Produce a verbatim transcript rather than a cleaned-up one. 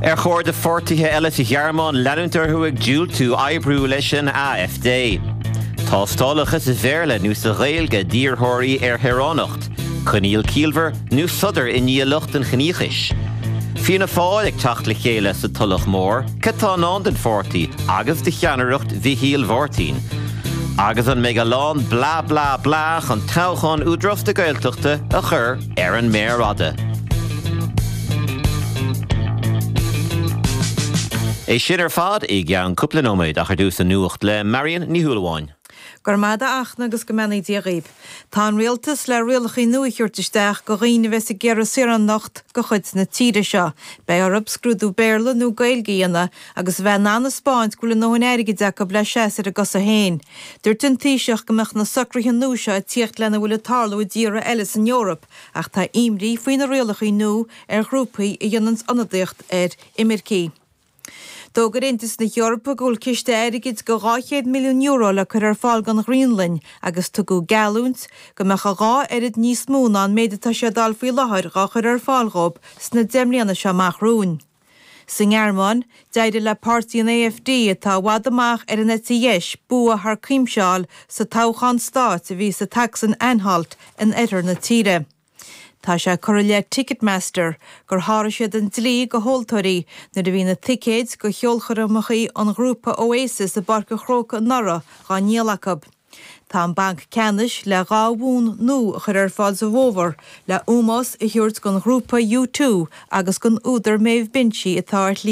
Ar chóir do pháirtithe eile sa Ghearmáin leanúint orthu ag diúltú oibriú leis an AfD. Tástálacha sa Bhéarla nó sa Ghaeilge d'iarrthóirí ar shaoránacht, Coinníoll ciallmhar nó sodar i ndiaidh lucht an chiníochais. Fianna Fáil ag teacht le chéile sa Tulach Mhór, cad atá i ndán don pháirtí agus do cheannaireacht Mhichíl Mháirtín. Agus an mbeidh a lán blah blah blah chun toghchán Údarás na Gaeltachta a chur ar an méar fhada. É sin ar fad i gceann cúpla nóiméad ach ar dtús an nuacht le Marion Ní Shúilleabháin. Go raibh maith agat a Fhachtna agus go mbeannaí Dia dhaoibh. Tá an rialtas le rialacha nua a thabhairt isteach go dhaoine a bheas ag iarraidh saoránacht de chuid na tíre seo. Beidh orthu scrúdú Béarla nó Gaeilge a dhéanamh agus a bheith in ann a 'spáint go bhfuil a ndóthain airgid acu le seasamh ar a gcosa féin. Dúirt an Taoiseach go mbeadh na socruithe nua seo ag tíocht lena bhfuil ag tarlú i dtíortha eile san Eoraip ach tá imní faoi na rialacha nua ar ghrúpaí a dhéananns ionadaíocht ar imircigh. D'fhógair Aontas na hEorpa go bhfuil ciste airgid de dhá chéad milliún euro le cur ar fáil don Ghraonlainn agus tugadh geallúint go mbeadh a dhá oiread níos mó ná an méid atá siad a fháil faoi láthair dhá chur ar fáil dhóibh sna deich mbliana seo amach romhainn. Sa nGearmáin, d'éirigh le páirtí an AfD, atá i bhfad amach ar an eite dheis, bua thar cuimse a fháil sa toghchán stáit a bhí sa tSacsain-Anhalt in oirthear na tíre. Tá sé curtha i leith Ticketmaster gur sháraigh siad an dlí go thomhaltóirí nuair a bhí na ticéid go cheolchoirmeacha an ghrúpa Oasis i bPáirc an Chrócaigh anuraidh dhá ndíol acu. Tá an Banc Ceannais le dhá bhonn nua a chur ar fáil sa bhfómhar le ómós a thabhairt don ghrúpa U Two agus don údar Maeve Binchy atá ar shlí